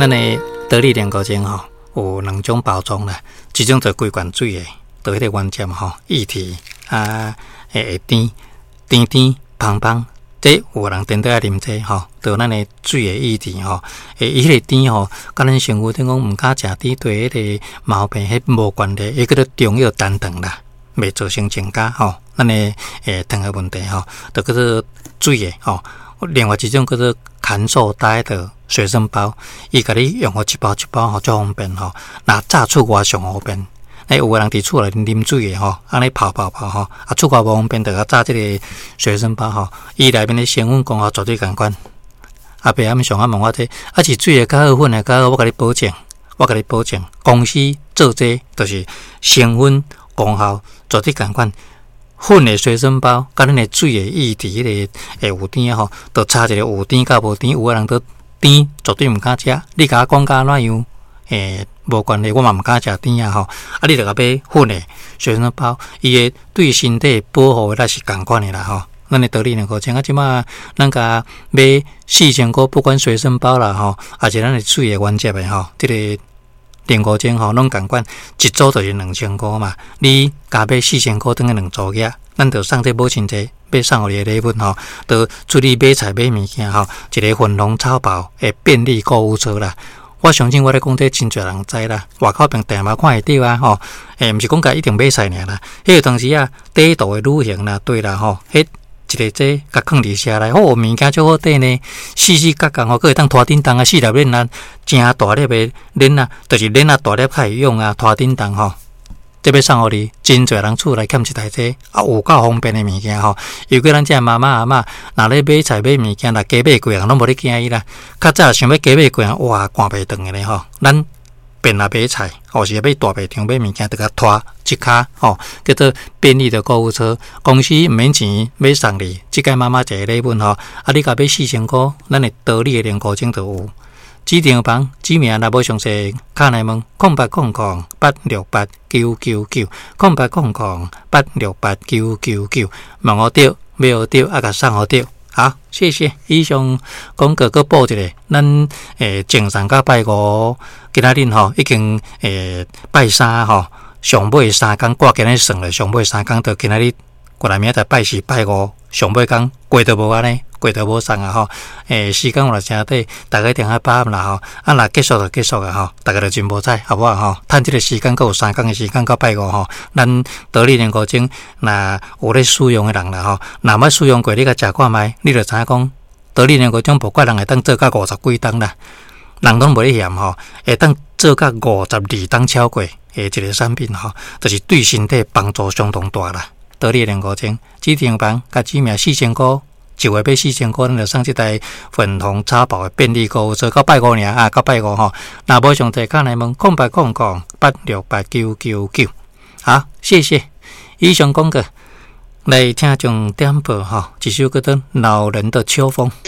咱的得力練膏精吼，有兩種包裝啦，一種就規罐水的，就彼個原汁吼，液體啊，會甜甜甜芳芳，這有人顛倒愛啉這吼，就咱的水的液體吼，伊彼個甜吼，佮咱身軀頂講毋敢食甜，對彼個毛病彼無關係，伊叫做中藥單糖啦，袂造成增加吼，咱的糖的問題吼，就叫做水的吼。另外一種叫做含素呆的隨身包，伊共你用予一包一包吼，足方便吼。若炸出外上方便，欸，有的人佇厝內啉水的吼，按呢泡泡泡吼，啊，出外無方便，就共紮這个隨身包吼。伊內面的成分功效絕對仝款。阿伯阿姆上啊問我這，啊是水的較好，粉的較好，我共你保證，我共你保證，公司做這就是成分功效絕對仝款。粉的隨身包，佮咱的水的液體，彼個會有甜吼，就差一个有甜佮無甜。有的人都甜，絕對毋敢食。你共我講甲按怎樣？無關係，我嘛毋敢食甜啊吼。啊，你著共買粉的隨身包，伊會對身體保護的力是仝款的啦吼。咱的道理兩個像啊，這馬咱共買4000箍，不管隨身包啦吼，抑是咱的水的原汁的吼，這个練膏精吼，攏仝款，一組就是2000箍嘛。你加買四千箍，等於兩組額，咱就送這母親節欲送予你的禮物吼，就出去買菜買物件吼，一个粉紅草包的便利購物車啦。我相信我咧講這真濟人知啦，外口邊定嘛看會著啊吼。毋是講共一定買菜爾啦，彼個當時啊，短途的旅行啦，對啦吼，彼一个這共囥佇車內，哦，物件足好綴呢，四四角角吼，閣會當拖振動啊，四粒鏈仔，誠大粒的鏈仔，就是鏈仔大粒較會用啊，拖振動吼。這欲送予你，真濟人厝內欠一台這，啊，有夠方便的物件吼。尤其咱遮媽媽阿嬤，若咧買菜買物件，若加買過人攏無咧驚伊啦。較早想欲加買過人，哇，趕袂轉的咧吼。咱便來買菜，或是欲大賣場買物件，就共拖一跤吼，叫做便利的購物車。公司毋免錢，欲送你，這屆媽媽一個禮物吼。啊，你共買四千箍，咱的得力的練膏精就有。指定房指名若無詳細，敲來問0800868999，0800868999，問予著，買予著，啊，共送予著。好，謝謝。以上廣告閣報一下，咱前上個拜五，今仔日吼已經拜三吼，上尾三工掛今日算了，上尾三工到今仔日過來明仔載拜四拜五，上尾工過都無按呢。過都無送啊吼，時間有若誠短，大家一定愛把握啦吼。啊，若結束就結束啊吼，大家就真無彩，好無好吼？趁這个時間，閣有三工的時間到拜五吼，咱得力練膏精，若有咧使用的人啦吼，若捌使用過，你共食看覓，你就知影講，得力練膏精無怪人會當做到五十幾冬啦，人攏無咧嫌吼，會當做到52冬超過的一个產品吼，就是對身體幫助相當大啦。得力練膏精，指定房共指名四千箍。一月買四千箍，咱就送這台粉紅草包的便利購物車，到拜五爾啊，到拜五吼。若無詳細，敲來問0800868999。好，謝謝。以上廣告來聽眾點播吼，一首叫做《惱人的秋風》。